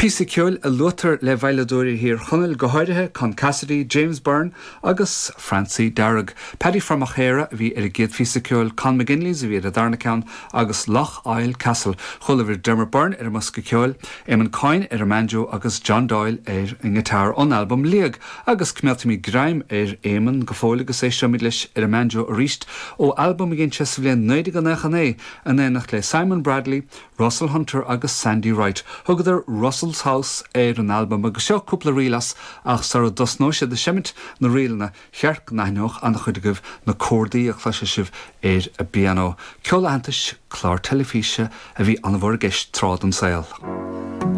Píosa ceoil a luaitear le veidhleadóirí Thír Chonaill, go háirithe Con Cassidy, James Byrne agus Francie Darragh. Paddy Fra Machaire a bhí ar an gcéad phíosa ceoil, Con McGinley's a bhí ar an darna ceann agus Lough Eile Castle. Chualabhair Dermot Byrne ar an mbosca ceoil, Eamon Coyne ar an mbanjo agus John Doyle ar an ngiotár ón albam Liag. Agus coimeádfaimid greim ar Éamonn go fóill agus éisteoimid leis ar an mbanjo arís ó albam a dhein sé sa bhliain 1999 in éineacht le Simon Bradley, Russell Hunter agus Sandy Wright. Thugadar Russell's House ar an albam agus seo cúpla ríl as ach sara dtosnóidh siad ag seimint na ríleanna cheart go n-aithneodh an-chuid agaibh na córdaí a chloisfidh sibh ar an bpianó. Ceol aitheantais, clár teilifíse a bhí an-mhór i gceist tráth den saol.